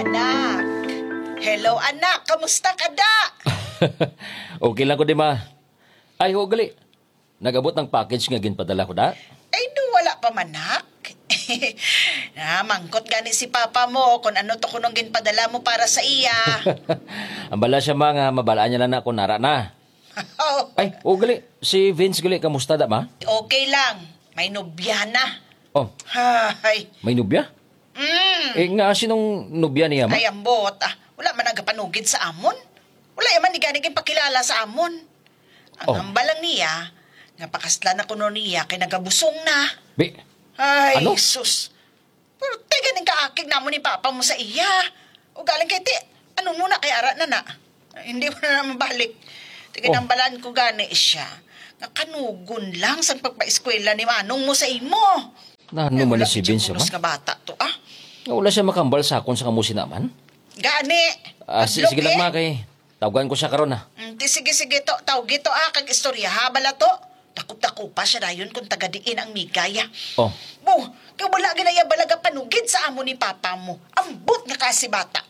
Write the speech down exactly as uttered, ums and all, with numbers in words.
Nak. Hello, anak. Kamusta ka, da? Okay lang ko, di ma. Ay, ho, gali. Nag-abot ang package nga ginpadala ko, da? Ay, do, wala pa man, nak. Namangkot gani si papa mo kung ano to kunong ginpadala mo para sa iya. Ang bala siya, ma, nga mabalaan niya lang na kung nara na. Oh. Ay, o gali, si Vince gali, kamusta da, ma? Okay lang. May nobya na. Oh. Ay. May nobya? Mm. Eh, nga, sinong nobya niya, ma? Ay, ambot, ah. Wala man nagapanugid sa amon. Wala man ni gani ginpakilala sa amon. Ang Oh. hambal lang niya, nga pakaslan na kuno niya kay nagabusong na. Bi-, Ay, ano? Sus. Pero tiga ning kaakig namo ni papa mo sa iya. O galing kay ti, ano mo na kay ara na na? Hindi mo na naman balik. Tiga Oh. nambalan ko gani siya. Nga kanugon lang sa pagpaeskwela ni manong mo sa imo. Na ano Ay, man wala ni si Vince, unos ma? Nga bata to, ah. Nga wala siya makambal sa akon sa kamo sinaman? Gani. Ah, si-, Adlok sige lang, eh. Ma, kay tawgan ko siya karon, ha. Mm, di, sige, sige, to. Tawgi to, ah, kag istorya, ha, bala to. Dakop-dakop pa siya dayon kung taga diin ang migay, ah. Oh. Bo, kay wala ginaya balaga panugid sa amo ni papa mo. Ambot nga kasi bata.